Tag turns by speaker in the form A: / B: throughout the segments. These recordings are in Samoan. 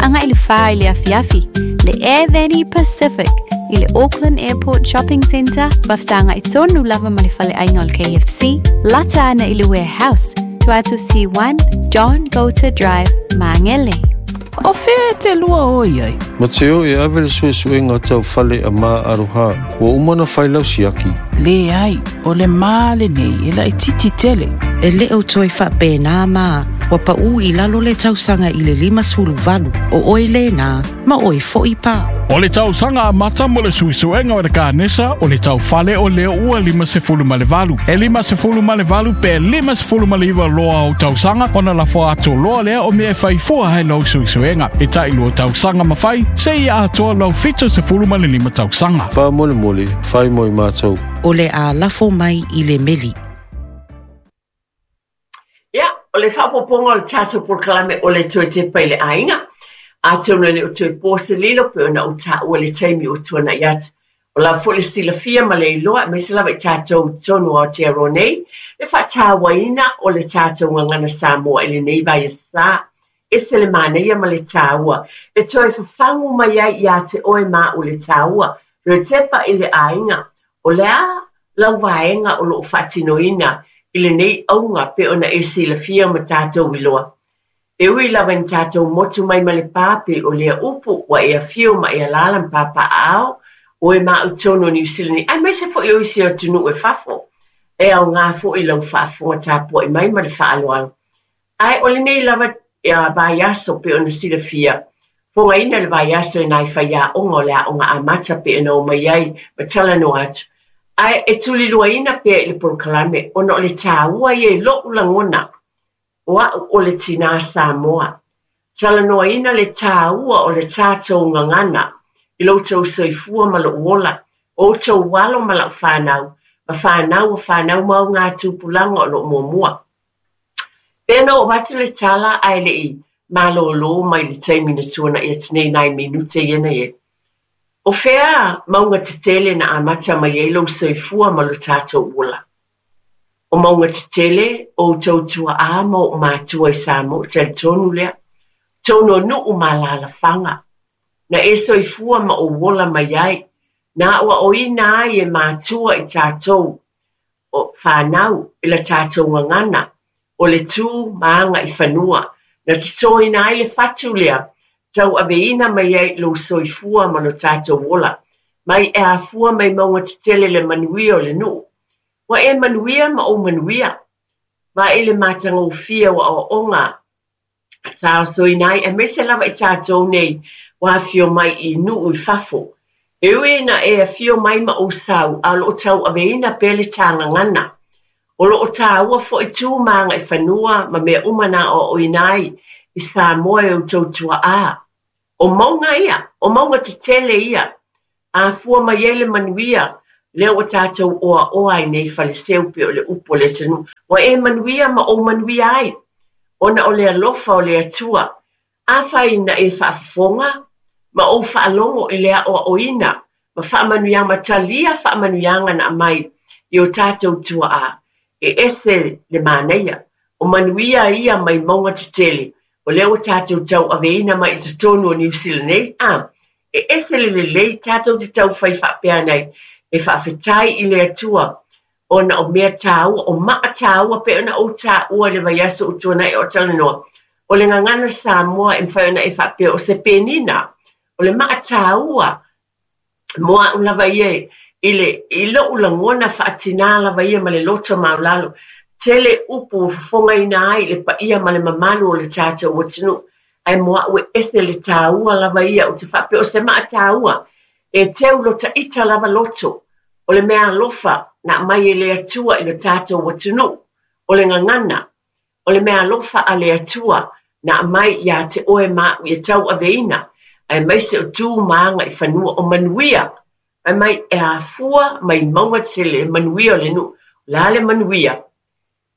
A: Agai i le 4 i le afiafi, le Air Vanny Pacific i le Auckland Airport Shopping Centre, faafesagai tonu lava ma le faleaiga o le KFC, lata ana i le Warehouse, 22 C1, John Goulter Drive, Māngere.
B: O fea e te lua o i ai?
C: Mateo e ave le suesuega tau fale a Ma Aroha. Ua uma ona fai lau siaki?
B: Leai, o le ma lenei e laitiiti tele.
D: E le o toe faapena ma ua paʻu i lalo le tausaga i le 58, o oe lena, ma oe foi pa.
E: O le tausaga amata mo le suesuega o le kanesa o le taufale o lea ua 58. E 58 pe 59 loa o tausaga ona lafo atu loa lea o mea e fai fua ai lau suesuega. E tai lua tausaga ma fai, seia atoa lau 75 tausaga.
C: Faamolemole, fai mo i matou.
D: O le a lafo mai i le meli.
F: Ia, o le faaopoopoga o le tatou polokalame o le Toe Tepa i le Aiga, atonu e le o toe po se lilo pei ona ou taua i le taimi ua tuanai atu. Ua lava foi le silafia ma le iloa aemaise lava i tatou i totonu o Aotearoa nei, le faatauaina o le tatou gagana Samoa i lenei vaiaso. Ese le manaia ma le taua e toe fafagu mai ai ia te oe ma au le taua, toe tepa i le aiga, o le a lau vaega o lo o faatinoina i lenei auga pei ona e silafia ma tatou iloa. E ui lava ina tatou motu mai ma le pā pei o lea upu ua e afio ma e alaala ma papaaao oe ma au i totonu o Niu Sila nei aemaise foi o isi atunuu e fafo. E aoga foi lau faafofoga tapuai mai ma le faaaloalo. Ae o lenei lava vaiaso pei ona silafia, fogaina le vaiaso e nai faiaoga o le aoga amata pei ona omai ai ma talanoa atu. Ae e tuliluaina pea i le polokalame ona o le taua ia i lo'u lagona o a'u o le tinā Samoa. Talanoaina le taua o le tatou gagana i lo outou soifua ma lo'u ola, o outou alo ma la'u fanau, ma fanau o fanau ma augatupulaga o lo'o muamua. Pei ona oo atu le tala ae le i malōlō mai le taimi na tuanaʻi atu nei nai minute ia na i ai. O fea mauga tetele na amata mai ai lou soifua ma lo tatou ola? O mauga tetele o outou tuaʻā ma oʻu matua i Samoa, ou te talitonu lea. Totonu o nuu ma alaalafaga. Na e soifua ma ou ola mai ai, na aʻoaʻoina ai e matua i tatou o fanau i la tatou gagana, o le tu ma agaifanua, na totoina ai le fatu lea, tauaveina mai ai lou soifua ma lo tatou ola, mai e afua mai mauga tetele le manuia o le nuu. Ua e manuia ma ou manuia. Vaai i le matagofie o aoaoga taosoina ai, aemaise lava i tatou nei ua afio mai i nuu i fafo. E ui ina e afio mai ma ou sau, a o lo o tauaveina pea le tā gagana. O lo o tāua foi tu ma agaifanua ma mea uma na aoaoina ai i Samoa e outou tuaʻā. O mauga ia, o mauga tetele ia, afua mai ai le manuia lea ua tatou oaoa ai nei Faleseu pei o le upu a le atunuu. Ua e manuia ma ou manuia ai, ona o le alofa o le Atua. Afai ina e faafofoga ma ou faalogo i le aoaoina ma faamanuiaga ma talia faamanuiaga na aumai i o tatou tuaa, e ese le manaia. O manuia ia mai mauga tetele, o lea ua tatou tauaveina mai i totonu o Niu Sila nei, a e ese le lelei tatou te taufai faapea nei e faafetai i le Atua ona o mea tāua, o maa tāua pei ona ou taua i le vaiaso ua tuanai o talanoa. O le gagana Samoa e mafai ona e faapea o se penina, o le maa tāua mo a'u lava ia i le i lo'u lagona faatinā lava ia ma le loto maulalo. Tele upu ua fofogaina ai le paia ma le mamalu o le tatou atunuu, ae mo a'u e ese le tāua lava ia ou te faapea o se maa tāua e teu lo ta ita lava loto o le mea alofa na aumai e le Atua i lo tatou atunuu o le gagana o le mea alofa a le Atua na aumai iā te oe ma a'u ia tauaveina aemaise o tu ma agaifanua o manuia fai mai e afua mai mauga tele le manuia o le nuu. O le a le manuia?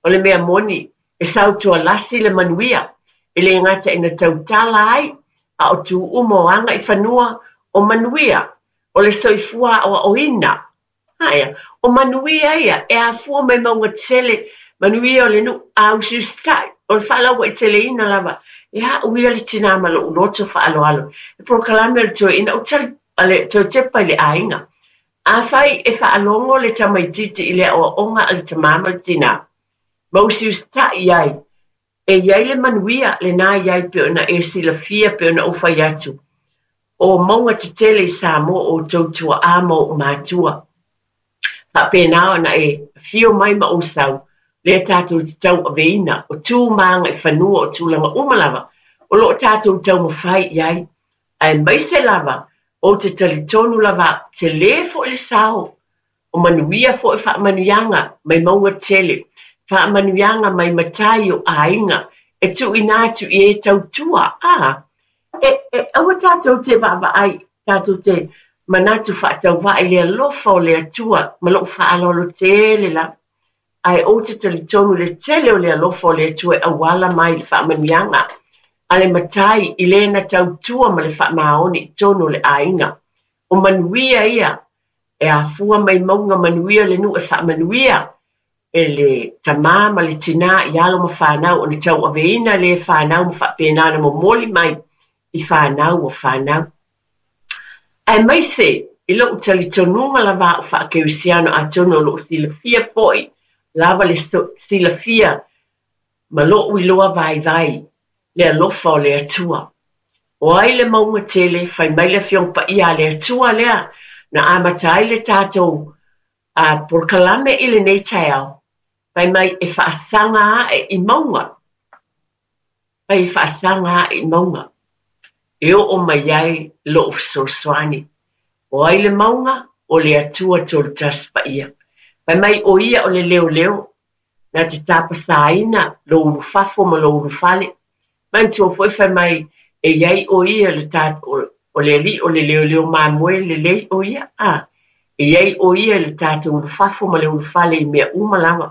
F: O le mea moni, e sautualasi le manuia, e le gata ina tautala ai, a o tu uma o agaifanua o manuia, o le soifua aoaoina. Aia, o manuia ia e afua mai mauga tetele, manuia o le nuu, a usiusitai, o le faalauaiteleina lava E a au ia le tinā ma lo'u loto faaaloalo, le polokalame o le toeaina ou tali le toe tepa i le aiga. Afai e faalogo le tamaitiiti i le aoaoga a le tamā ma le tinā, ma usiusita'i ai, e i ai le manuia lenā i ai pei ona e silafia pei ona ou fai atu, o mauga tetele i Samoa o outou tua'a ma o'u matua. Faapena ona e afio mai ma ou sau, lea tatou te tauaveina, o tu ma agaifanua, o tulaga uma lava o lo o tatou taumafai i ai, aemaise lava ou te talitonu lava au, tele foi le sao, o manuia foi faamanuiaga mai mauga tele, faamanuiaga mai matai o aiga e tuuina atu i e tautua, a, E, e, aua tatou te vaavaai, tatou te manatu faatauvaa i le alofa o le Atua ma lou faaaloalo tele lava. Ae ou te talitonu i le tele o le alofa o le Atua e auala mai i le faamanuiaga a le Matai i le na tautua ma le faamaoni i totonu o le aiga. O manuia ia e afua mai mauga manuia le nuu e faamanuia e le tamā ma le tinā i alo ma fanau ona tauaveina lē fanau ma faapena ona momoli mai i fanau ua fanau. Aemaise i lo'u talitonuga lava a'u faakerisiano atonu o lo'o silafia fo'i lava le silafia ma lo'u iloa vaivai le alofa o le Atua. O ai le mauga tele, fai mai le Afioga Paia a le Atua lea na amata ai le tatou a polokalame i lenei taeao, fai mai e faasaga ae i mauga, fai e faasaga ae i mauga, e oo mai ai lo'u fesoasoani. O ai le mauga? O le Atua Tolutasi Paia. Fai mai o ia o le leoleo, na te tapasaina lou ulufafo ma lou ulufale. Manatua foi fai mai e i ai ʻo ia le ta, o le alii o le leoleo mamoe lelei ʻo ia, a e i ai ʻo ia i le tatou ulufafo ma le ulufale i mea uma lava.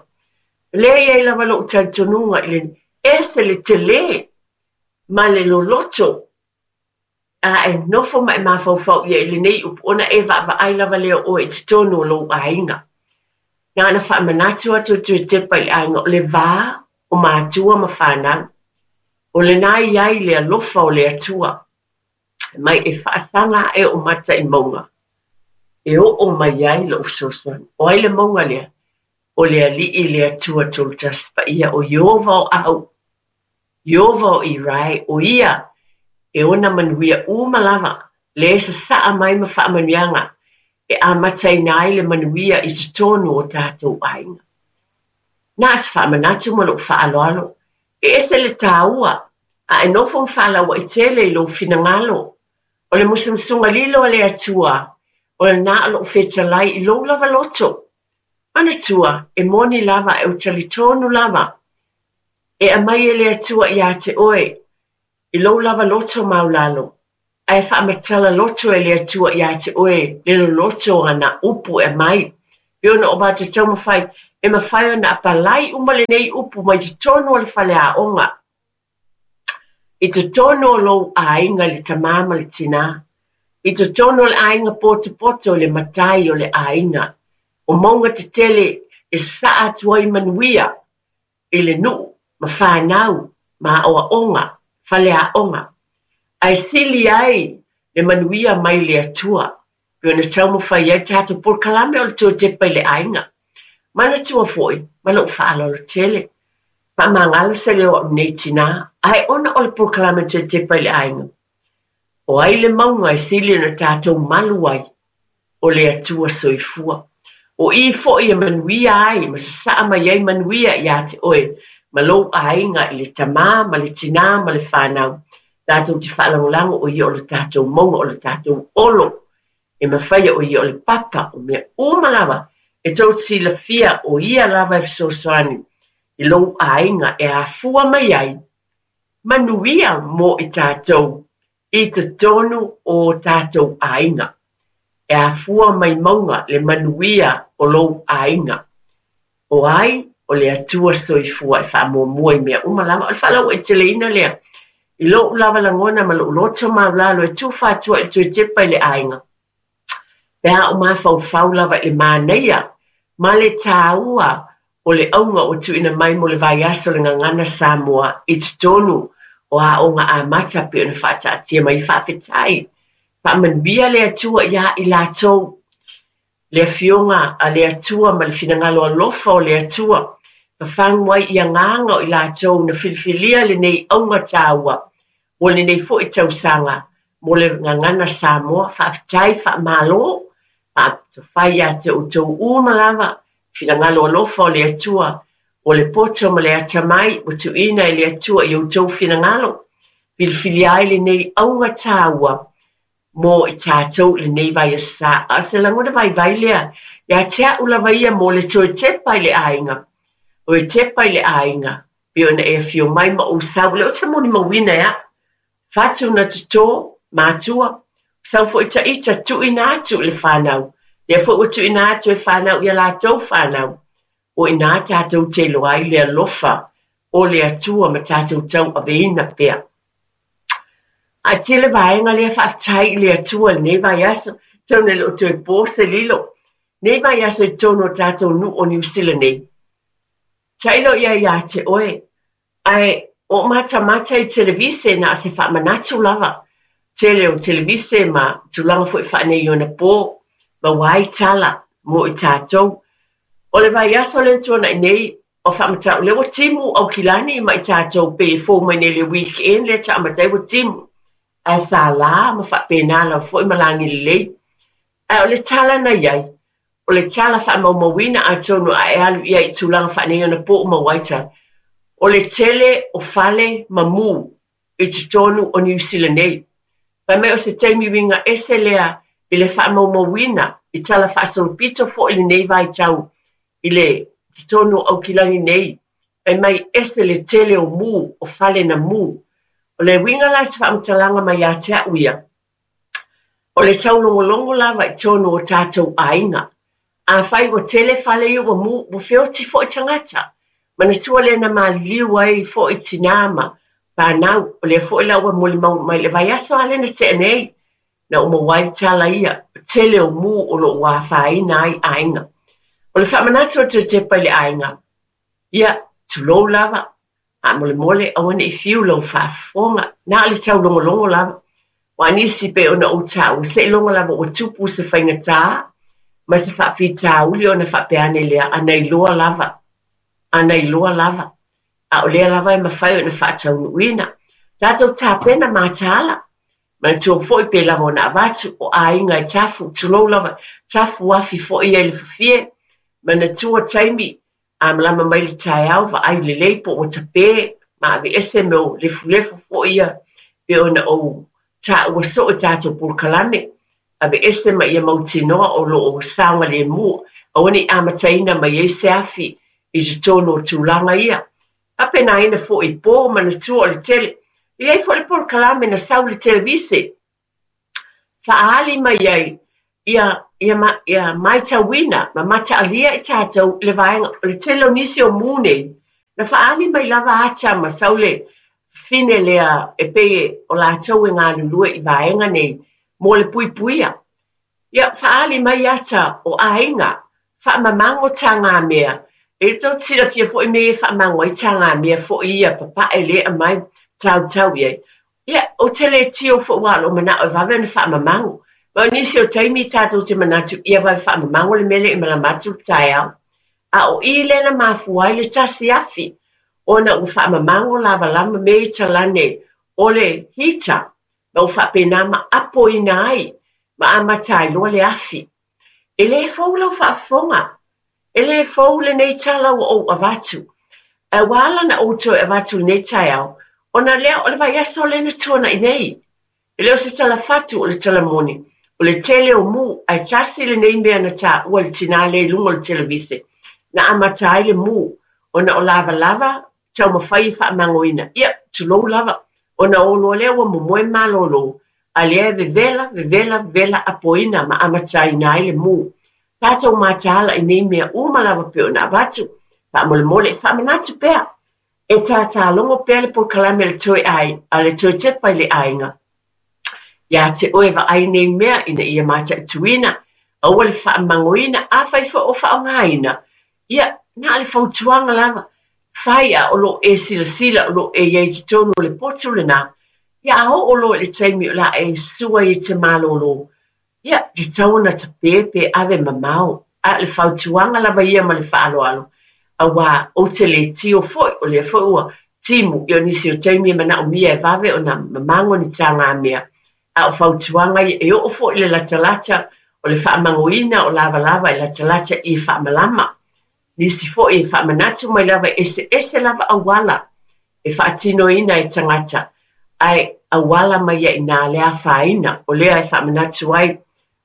F: O lea e i ai lava loʻu talitonuga i le ese le telē ma le loloto a e nofo ma e mafaufau i ai i lenei upu, ona e vaavaai lava lea o ʻoe i totonu o lou aiga. Na ona faamanatu atu e toe tepa i le aiga, o le va o matua ma fanau, o lenā i ai le alofa o le Atua, mai e faasaga aʻe ou mata i mauga, e oo mai ai loʻu fesoasoani. O ai le mauga lea? O le Alii le Atua Tolutasi Paia, o Ieova o ʻAhu. Ieova o Irae, ʻo ia e ona manuia uma lava, lea e sasaa mai ma faamanuiaga e amataina ai le manuia i totonu o tatou aiga. Na o se faamanatu ma loʻu faaaloalo, e ese le tāua, a e nofo ma faalauaʻi tele i lou finagalo. O le musumusuga lilo a le Atua, o lenā o loʻu fetalai i lou lava loto. Manatua, e moni lava ae ou talitonu lava, E aumai e le Atua iā te oe i lou lava loto maulalo, ae faamatala loto e le Atua iā te oe le loloto o ana upu e aumai. Pei ona o matou taumafai, e mafai ona apalai uma lenei upu mai totonu o le faleaoga, i totonu o lou aiga i le tamā ma le tinā, i totonu o le aiga potopoto i le matai o le aiga, o mauga tetele e sasaa atu ai manuia i le nuu ma fanau ma aoaoga, faleaoga, ae sili ai le manuia mai le Atua, pei ona taumafai ai le tatou polokalame o le toe tepa i le aiga. Manatua foi, ma lou faaaloalo tele, faamagalo se leo o au nei tinā, ae ona o le polokalame toe tepa i le aiga, o ai le mauga e sili ona tatou malu ai? O le Atua Soifua. O i foi e manuia ai ma sasaa mai ai manuia iā te oe ma lou aiga i le tamā ma le tinā ma le fanau, tatou te faalagolago o ia o le tatou mauga o le tatou olo e mafaia o ia o le papa o mea uma lava e tou te silafia o ia lava e fesoasoani i lou aiga e afua mai ai manuia mo i tatou i totonu o tatou aiga. E afua mai mauga le manuia o lou aiga. O ai? O le Atua Soifua e faamuamua i mea uma lava. O le faalauaiteleina lea i lou lava lagona ma lou loto maulalo e tufa atu ai i le toe tepa i le aiga, pe a ou mafaufau lava i le manaia ma le tāua o le auga ua tuuina mai mo le vaiaso o le Gagana Samoa i totonu o Aoga Amata pei ona faataatia mai. Faafetai. Faamanuia le Atua iā i latou. Le Afioga a le Atua ma le finagalo alofa o le Atua, fafagu ai i agaga o i latou na filifilia lenei auga taua mo lenei foi tausaga mo le Gagana Samoa. Faafetai, faamalo, faafetai ia te outou uma lava, finagalo alofa o le Atua, o le poto ma le atamai ua tuuina e le Atua i outou finagalo, filifilia ai lenei auga taua mo i tatou i lenei vaiaso. A o se lagona vaivai lea ia te a'u lava ia mo le toe tepa i le aiga, o e tepa i le aiga, pei ona e afio mai ma ou sau, o lea ou te molimauina e a'u, fatu na totō, matua, sau foi taita tuuina atu i le fanau, lea foi ua tuuina atu e fanau ia latou fanau, o i inā tatou te iloa ai le alofa o le Atua ma tatou tauaveina pea. Ae tele vaega lea faafetai i le Atua i lenei vaiaso, tau e le o toe po se lilo. Nei vaiaso i totonu o tatou nuu o Niu Sila nei. Tailo ia iā te oe, ae o matamata i televise na o se faamanatu lava. Tele o televise ma tulaga foi faaneionapo, maua ai tala mo i tatou. O le vaiaso lea na tuanai nei, o faamatau, lea ua timu Aukilani ma i tatou pei e fou mai nei le weekend lea taamata ai ua timu. Ae sa la ma faapena lava foi ma lagi lelei. Ae o le tala na i ai, o le tala faamaumauina atonu a e alu i ai i tulaga faaneionapo ua maua ai tala, o le tele o fale ma mu i totonu o Niu Sila nei. Fai mai o se taimi uiga ese lea i le faamaumauina i tala faasolopito foi lenei vaitau i le totonu o Aukilani nei, fai mai ese le tele o mu, o fale na mu. O le uiga la o se faamatalaga mai ia te a'u ia, o le taulogologo lava i totonu o tatou aiga. Afai ua tele fale ia ua mu, ua feoti foi tagata. Manatua lea na maliliu ai foi tinā ma fanau, o lea foi la ua molimau mai le vaiaso lava lea na tea nei, na ou maua ai le tala ia, o tele o mu o lo o afaina ai aiga. O le faamanatu atu e Tepa i le aiga, ia, tulou lava, faamolemole aua ne i fiu lau faafofoga, na o le taulogologo lava. Aua nisi pei ona ou taua, seiloga lava ua tupu se faigata ma se faafitauli ona faapea ane lea, a na iloa lava, a na iloa lava. A o lea lava e mafai ona faataunuuina. Tatou tapena mataala, Manatua foi pe lava ona avatu, o aiga e tafu, tulou lava, tafu afi foi ia i le fafie. Manatua taimi, a malama mai le taeao, vaai lelei po ua tape, ma aveese mea o lefulefu foi ia pei ona ou taua soo i tatou polokalame. Aveese ma ia mautinoa o lo o saogalemu, aua ne i amataina mai ai se afi i totonu o tulaga ia. Faapena foi i po, manatua o le tele. E i ai foi le polokalame na sau i le televise, faaali mai ai ia, ia, ia matauina ma mataalia i tatou le vaega, o le tele o nisi o mu nei, na faaali mai lava ata ma sau le fine lea e pei o latou e galulue i vaega nei mo le puipuia. Ia, faaali mai ata o aiga, faamamago tagamea. E tou te silafia foi mea ia e faamago ai tagamea foi ia, papae lea aumai, tautau i ai. Ia, ou te le tio foi aua o lou manao e vave ona faamamago. Ma o nisi o taimi tatou te manatu ia vave faamamago le mea lea i malama atu le taeao. A o i lea na mafua ai le tasi afi, ona ua faamamago lavalava mea ia talane o le heater. Ma ua faapena ma apoina ai ma amata ai loa le afi. E le fou lau faafofoga, e le fou lenei tala ua ou avatu. Ae ua ala ona ou toe avatu i lenei taeao, ona lea o le vaiaso lea na tuanai nei. E le o se tala fatu, o le tala moni, o le tele o mu, ae tasi lenei mea na taua e le tinā lea i luga o le televise, na amata ai le mu, ona o lavalava taumafai e faamagoina. Ia, tulou lava, ona o loa lea ua momoe malolo, a lea e vevela, vevela, vevela apoina ma amataina ai le mu. Tatou mataala i nei mea uma lava pei ona avatu, faamolemole e faamanatu pea. E tātālogo pea le polokalame a le toe ai, a le toe tepa i le aiga. Iā te oe vaai nei mea ina ia mataituina, aua le faamagoina, afai foi o faaaogaina, ia, na o le fautuaga lava. fai a o lo o e silasila o lo o e i ai i totonu o le potu lena, ia a oo loa i le taimi o le a e sua ai e te malolo, ia, e tatau ona tape pe ave mamao. A o le fautuaga lava ia ma le faaaloalo, aua ou te le tio foi, o lea foi ua timu, ia o nisi o taimi e manaomia e vave ona mamago ni tagamea, a o fautuaga ia, e oo foi i le latalata o le faamagoina o lavalava e latalata i faamalama. Nisi foi e faamanatu mai lava e eseese lava auala e faatinoina e tagata, ae auala mai ai i ina le afaina, o lea e faamanatu ai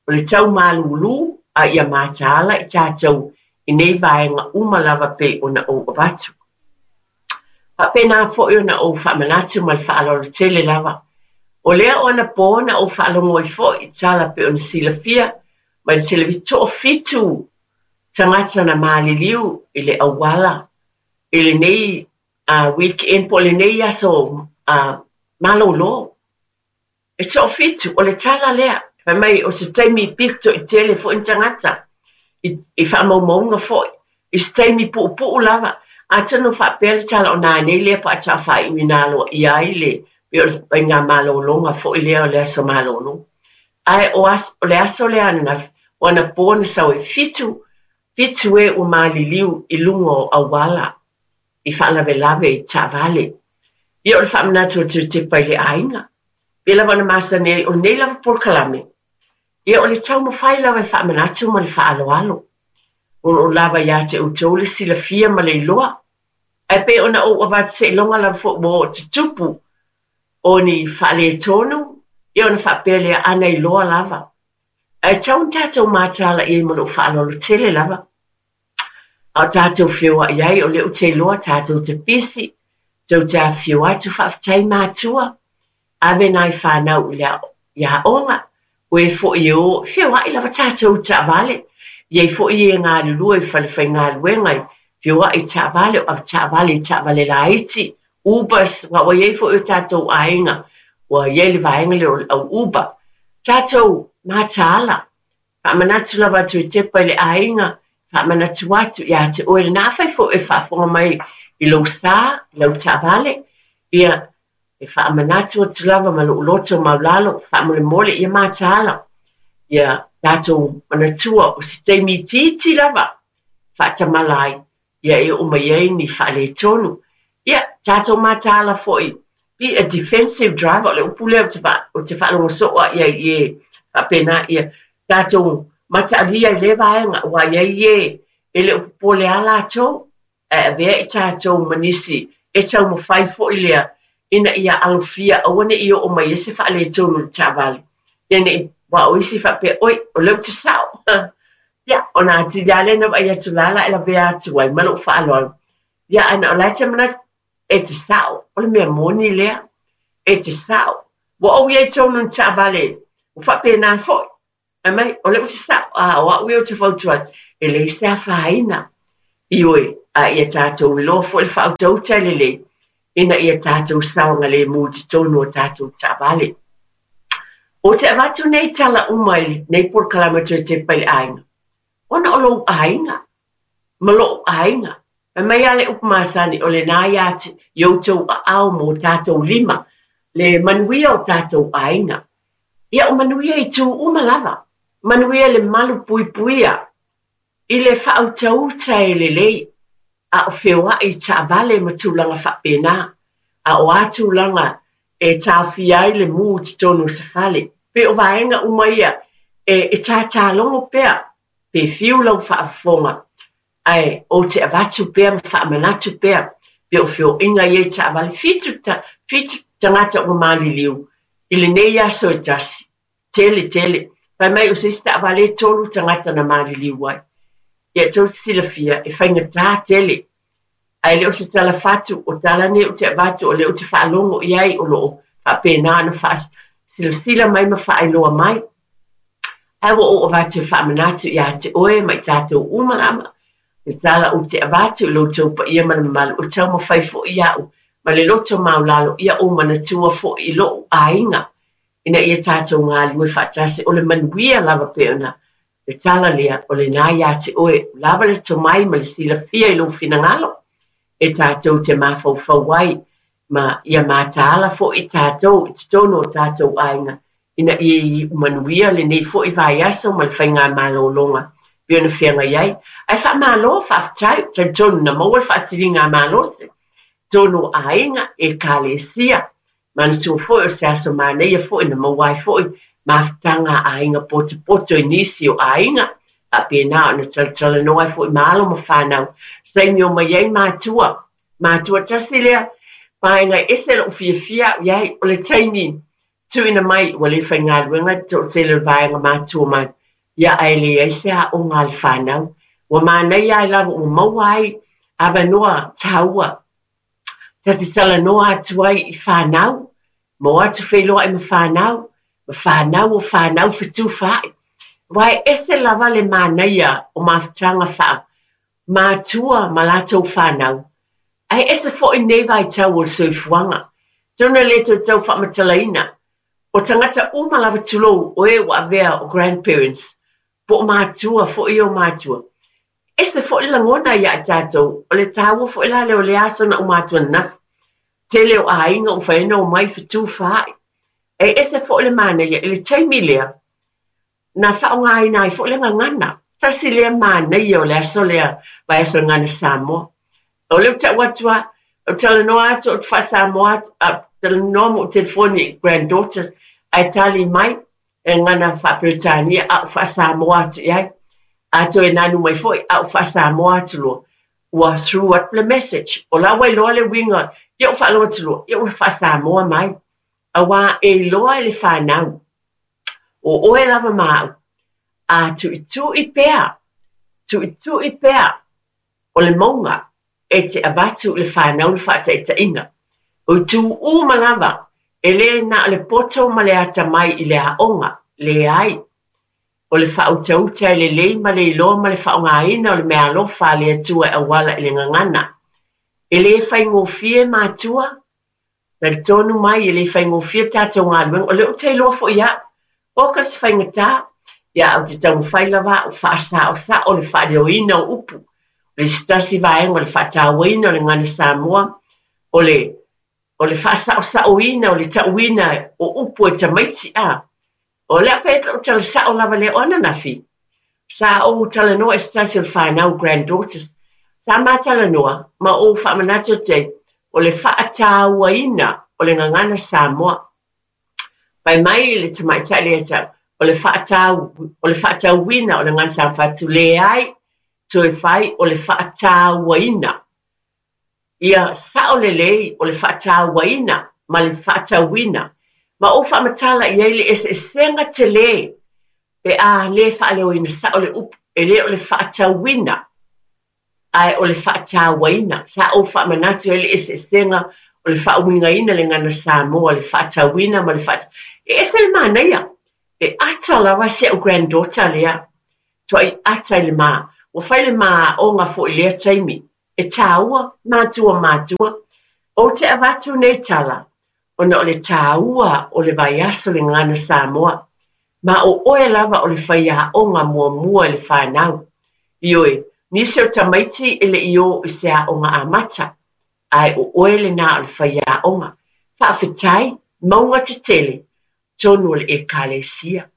F: o le tau malūlū a ia mataala i tatou i nei vaega uma lava pei ona ou avatu. Faapena foi ona ou faamanatu ma le faaaloalo tele lava. O lea o anapo na ou faalogo ai foi i tala pei ona silafia mai le televise, toafitu tagata na maliliu i le auala i lenei weekend po o lenei aso malolo. E toafitu, o le tala lea. Fai mai o se taimi pito i tele foi ni tagata, i faamaumauga foi, i se taimi puupuu lava. Atonu faapea le tala o nanei lea pe a taafaaiuina aloaia ai le pei o le faigamalologa foi lea o le aso malolo. Ae o, aso, o le aso lea ananafi, o anapo na sau ai, fitu, fitu e ua maliliu i luga o auala i faalavelave i taavale. Ia o le faamanatu atu e tepa i le aiga. Pei lava ona masani ai, o lenei lava polokalame, ia o le taumafai lava e faamanatu ma le faaaloalo. O lo o lava ia te outou le silafia ma le iloa. Ae pei ona ou avatu seiloga lava foi ua oo tutupu o ni faaletonu, ia ona faapea lea, ana iloa lava. Ae tatau ona tatou mataala i ai ma lou faaaloalo tele lava. A o tatou feoai ai, o lea ou te iloa tatou te pisi, tou te afifio atu, faafetai matua, ave nai fanau i le i aoga, o e foi e o, feoai lava tatou i taavale, i ai foi e galulue i fale faigaluega, feoai i taavale, o avetaavale i taavale laiti, Ubers, aua ua i ai foi o tatou aiga, ua i ai le vaega lea o le au Uber. Tatou mataala, Faamanatu lava atu e tepa i le aiga, faamanatu atu ia te oe lena. Afai foi e faafofoga mai i lou sa, i lau taavale, ia, e faamanatu atu lava ma lou loto maulalo, faamolemole ia mataala, ia tatou manatua o se taimi itiiti lava faatamala ai, ia e oo mai ai ni faaletonu. Ia, tatou mataala foi, be a defensive driver, o le upu lea ou te, ou te faalogo soo lava i ai i e faapena, ia tatou mataalia i lea vaega, aua e i ai e e le o popole lava latou, ae avea i tatou ma nisi e taumafai foi lea ina ia alofia aua ne i oo mai ai se faaletonu i le taavale. Ia ne i, aua o isi faapea, oi, o lea ou te sao. Ia, ona atili lava lea na vaai atu la la e lavea atu ai ma lou faaaloalo. Ia, ae na o la e te manatu, e te sao, o le mea moni lea, e te sao. Ua ou i ai tonu i taavale, ua faapena foi. Fai mai, o lea ou te sao, a o au ia ou te fautua atu, e leai se afaina. Ioe, a ia tatou iloa foi le faautauta e lelei, ina ia tatou saogalemu i totonu o tatou taavale. Ou te avatu nei tala uma i lenei polokalame toe tepa i le aiga, ona o lou aiga ma loʻu aiga. Fai mai lava le upu masani, o lena ia te i outou aao ma o tatou lima le manuia o tatou aiga. Ia, o manuia i itu uma lava, manuia i le malupuipuia, i le faautauta e lelei, a o feoai i taavale ma tulaga faapena, a o a tulaga e taofia ai le mū i totonu o se fale. Pei o vaega uma ia e tātālogo pea pe fiu lau faafofoga, ae ou te avatu pea ma faamanatu pea pei o feoaiga ia i taavale. Fitu, fitu tagata ua maliliu i lenei aso e tasi. Tele, tele. Fai mai o se isi taavale e tolu tagata na maliliu ai. Ia tou te silafia, e faigata tele. Ae le o se tala fatu, o tala nei ou te avatu o lea ou te faalogo i ai o lo o faapena ona faasilasila mai ma faailoa mai. Ae ua ou avatu e faamanatu ia te oe ma i tatou uma lava, le tala ou te avatu i lo outou paia ma le mamalu, o taumafai foi au ma le loto maulalo ia ou manatua foi i lo'u aiga ina ia tatou galulue faatasi, o le manuia lava pei ona le tala lea, o lena ia te oe, ua lava le tomai ma le silafia i lou finagalo e tatou te mafaufau ai ma ia mataala foi tatou i totonu o tatou aiga ina ia iu manuia lenei foi vaiaso ma le faigamalologa pei ona feagai ai. Ae faamalo, faafetai, ou te talitonu na maua le faasiligamalosi i totonu o aiga, Ekalesia. Manatua foi o se aso manaia foi na maua ai foi mafutaga a aiga potopoto i nisi o aiga, faapena ona talatalanoa ai foi ma alo ma fanau, taimi omai ai matua. Matua tasi lea vaega e ese lou fiafia au i ai, o le taimi tuuina mai ua le faigaluega le toatele o le vaega matua mai, ia ae leai se aoga a le fanau. Ua manaia ai lava ua maua ai avanoa taua ta te talanoa atu ai i fanau, ma o atu feiloai ma fanau, ma fanau o fanau fetufaai. Aua e ese lava le manaia o mafutaga faa matua ma latou fanau, ae ese foi nei vaitau o le soifuaga. Atonu e le toe tau faamatalaina, o tagata uma lava tulou o e ua avea o grandparents, po o matua foi o matua. Ese foi le lagona ia i tatou, o le taua foi la lea o lea aso na uma atu ananafi. Tele o aiga ua mafai ona omai fetufaai. E ese foi le manaia i le taimi lea, na faaaogaina ai foi le gagana. Tasi lea manaia o le aso lea, vaiaso o le Gagana Samoa. O lea ou te tau atu lava, ou te talanoa atu, ou te faa-Samoa atu, a ou talanoa ma ou telefoni i granddaughters, ae tali mai e gagana faa-Peretania, a ou faa-Samoa atu i ai. A toe nanu mai foi, a ou faa-Samoa atu loa. Ua through atu le message. O la ua iloa le uiga, ia ou faalogo atu loa, ia ua faa-Samoa mai. Aua e iloa e le fanau, o ʻoe lava ma aʻu, a tuʻituʻi pea, tuʻituʻi pea o le mauga e te avatu i le fanau le faataitaiga. O itu uma lava, e le na o le poto ma le atamai i le aoga, leai. O le faautauta e lelei ma le iloa ma le faaaogaina o le meaalofa a le Atua e auala i le gagana. E le faigofie matua, Talitonu mai e le faigofie le tatou galuega, o lea ou te iloa foi au, oka se faigata, ia ae ou te taumafai lava au faasaosao le faaleoina o upu. O le se tasi vaega o le faatauaina o le gagana Samoa, o le o le faasaosaoina o le tauina o upu e tamaiti a. O le a fai atu lau tala sao lava lea o ananafi, sa ou talanoa i se tasi o le fanau granddaughters, sa ma talanoa ma ou faamanatu atu ai o le faatauaina o le gagana Samoa. Fai mai le tamaitai lea ia te au, o le faatau, o le faatauina o le gagana Samoa, fai atu, leai, toe fai o le faatauaina. Ia sao lelei o le faatauaina ma le faatauina, ma ou faamatala i ai le eseesega tele pe a le faaleoina sao le upu, e le o le faatauina, ae o le faatauaina. Sa ou faamanatu i ai le eseesega o le faauigaina le gagana Samoa, le faatauina ma le faat... E ese le manaia, e ata lava si au granddaughter lea, tuai ata i le ma, ua fai le ma aoga foi i lea taimi. E tāua, matua matua, ou te avatu nei tala, ona o le tāua o le vaiaso le Gagana Samoa, ma o ʻoe lava o le faiaoga muamua i le whānau. Ioe, nisi o tamaiti e le i ō i se aoga amata, ae o ʻoe lenā o le faiaoga. Faafetai, mauga tetele, tonu o le Ekalesia.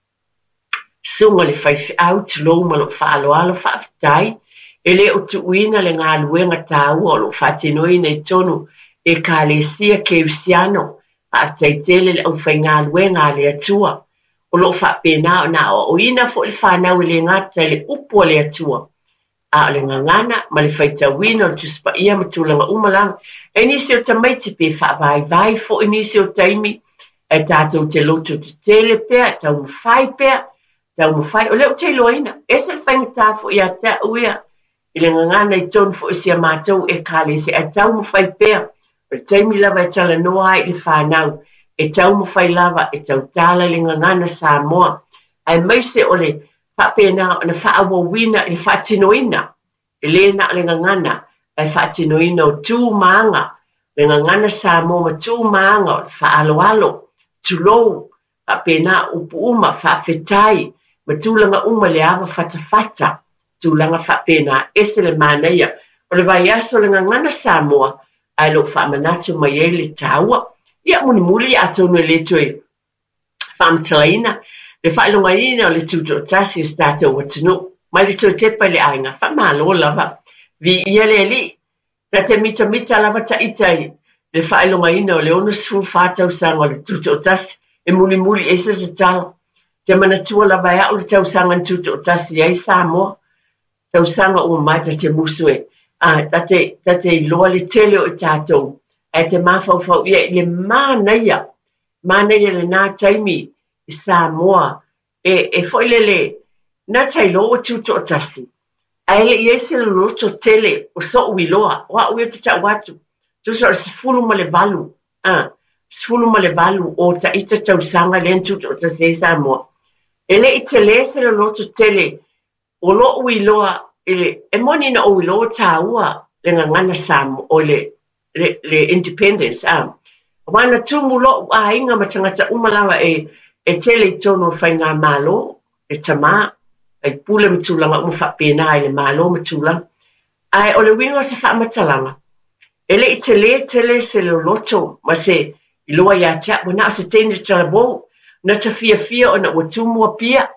F: Susuga i le faifeau, tulou ma lou faaaloalo, faafetai, e le o tuuina le galuega taua o lo o faatinoina i totonu Ekalesia Kerisiano. Faafetai tele le aufaigaluega a le Atua o lo o faapena ona aoaoina foi le fanau e le gata i le upu a le Atua, a o le gagana ma le faitauina o le Tusi Paia ma tulaga uma lava. E nisi o tamaiti pe faavaivai foi nisi o taimi, ae tatou te loto tetele pea, taumafai pea, taumafai. O lea ou te iloaina, ese le faigata foi ia te au ia, i le gagana i totonu foi o si a matou Ekalesia, ae taumafai pea. O le taimi lava e talanoa ai i le fanau, e taumafai lava e tautala i le gagana Samoa, aemaise o le faapena ona faaauauina i le faatinoina, e le na o le gagana, ae faatinoina o tu ma aga, le gagana Samoa ma tu ma aga o le faaaloalo, tulou, faapena upu uma, faafetai, ma tulaga uma i le ava fatafata, tulaga faapena, ese le manaia O le vaiaso o le Gagana Samoa, ae o lo o faamanatu mai ai le taua. Ia, mulimuli atonu e le toe faamatalaina le faailogaina o le tutoatasi o se tatou atunuu. Mai le toe tepa i le aiga, faamalo lava. Viia le Alii. Ta te mitamita lava taita i le faailogaina o le 64 tausaga o le Tutoatasi e mulimuli ai se tatalo. Te manatua lava e au le tausaga na tutoatasi ai Samoa. Tausaga uma mai ta te musu e, a, ta te, ta te iloa le tele o i tatou, ae te mafaufau ia i le manaia, manaia lenā taimi i Samoa e, e foi lele, na ta iloa ua tutoatasi, ae le i ai se loloto tele o soʻu iloa, o au ia ou te tau atu, tusa o le 18, a, 18 o taita tausaga lea na tutoatasi ai Samoa. E le i tele se loloto tele o loʻu iloa i le, e moni na ou iloa ua taua le gagana Samoa, oi le, le, le independence, a. Aua na tumu loʻu aiga ma tagata uma lava e, e tele i totonu o le faigamalo, le tamā, faipule ma tulaga uma faapena i le Malo ma tulaga. Ae o le uiga o se faamatalaga, e le i telē tele se loloto ma se iloa ia te au, ua na o se teine talavou, na ta fiafia ona ua tumu Apia,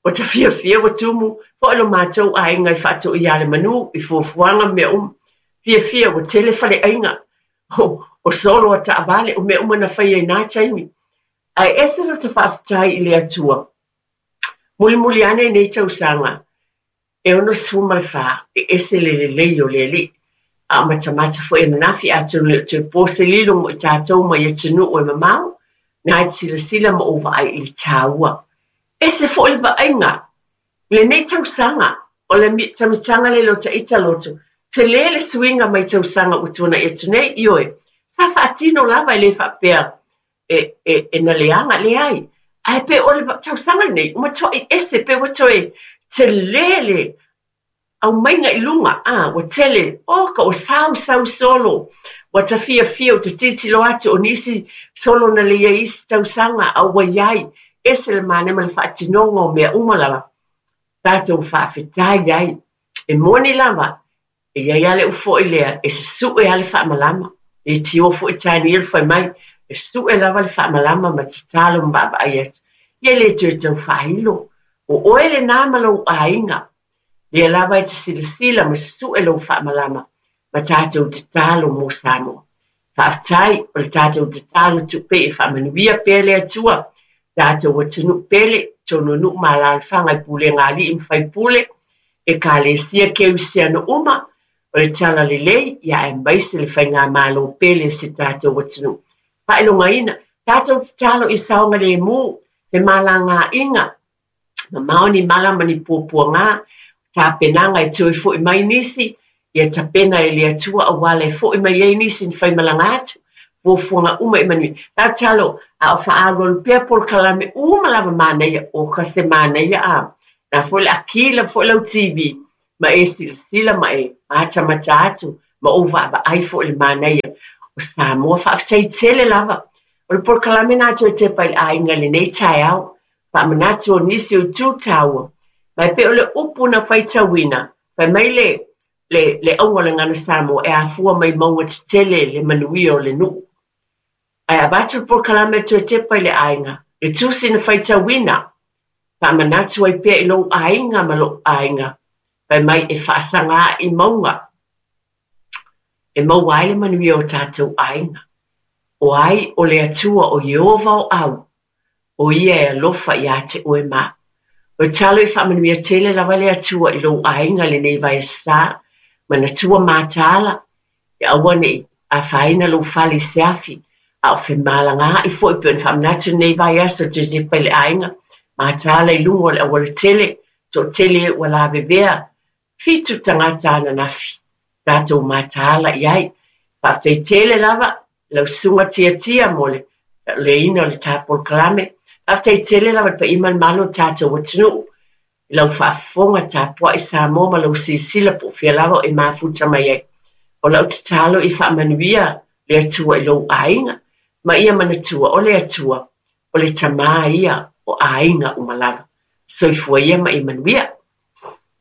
F: Ua ta fiafia ua tumu foi lo matou aiga i faatoia le manu i fuafuaga ma mea uma. Fiafia ua tele faleaiga o solo a taavale o mea uma na faia i na taimi. Ae ese lo ta faafetai i le Atua. Mulimuli ane i nei tausaga e 64, e ese le lelei o le Alii. A o matamata foi ananafi atonu e le o toe po se lilo mo i tatou mai atunuu e mamao, na e silasila ma ou vaai i le taua. Ese foi le vaaiga i lenei tausaga o le mitamitaga lele o taita loto, tele le suiga mai tausaga ua tuanai atu nei, ioe, sa faatino lava e le faapea e, e, e na leaga, leai. Ae pe o le tausaga lenei, ua matuai ese, pe ua toe tele le aumaiga i luga, a, ua tele, oka, ua sau sau solo, ua ta fiafia, ua ta tilotilo atu, o nisi solo na lei ai isi tausaga, a ua iai, ese le manaia ma le faatinoga o mea uma lava, tatou faafetai ai. E moni lava, E i ai lava le upu foi lea, e susue lava le faamalama. E tio foi Tanielu fai mai, e sue lava le faamalama ma tatalo ma vaavaai atu. Ia e le toe tau faailo. O oe lenā ma lou aiga. Lea lava e te silasila ma susue lou faamalama ma tatou tatalo mo Samoa. Faafetai, o le tatou tatalo tupe e faamanuia pea le Atua, tatou atunuu pele, tonu nuu ma alaalafaga i pulega a alii ma faipule, ekalesia keusiano uma, o le tala lelei, ia aemaise le faigamalo pele o si tatou atunuu. Faailogaina, tatou tatalo i saogalemu, femalagaaiga, Mamao ni mala ma ni puapuaga, tapenaga e toe foi mai nisi, ia tapena e le Atua auala e foi mai ai nisi na faimalaga atu, fuafuaga uma i manuia. Tatalo, a o faaalualu pea polokalame uma lava manaia, o ka se manaia a, na foi le akila foi lau TV, ma e silasila ma e matamata atu, ma ou vaavaai foi i le manaia o Samoa. Faafetai tele lava. O le polokalame na toe tepa i le aiga i lenei taeao, Faamanatu o nisi o itu taua, ma e pei o le upu na faitauina, fai mai le, le, le auga o le Gagana Samoa e afua mai mauga tetele le manuia o le nuu. Ae avatu le polokalame a toe tepa i le aiga, le tusi na faitauina, faamanatu ai pea i lou aiga ma lou aiga, fai mai e faasaga ae i mauga e maua ai le manuia o tatou aiga. O ai o le Atua o Ieova o au, o ia e alofa iā te oe ma au. O le talo i faamanuia tele lava le Atua i lou aiga lenei vaiaso-sa, manatua mataala, ia aua ne i afaina lou fale i se afi, a o femalagaai foi pei ona faamanatu lenei vaiaso i Josefa i le aiga, mataala i luga o le aualatele, toatele e ua lavevea, 7 tagata ananafi tatou mataala i ai. Faafetai tele lava i lau susuga Tiatia mo le leina o le ta polokalame. Faafetai tele lava i le paia ma le malo o le tatou atunuu i lau faafofoga tapuai Samoa ma lau silasila po o fea lava o e mafuta mai ai. O lau tatalo ia faamanuia le Atua i lou aiga ma ia manatua o le Atua o le Tama ia o aiga uma lava. Soifua ia ma ia manuia.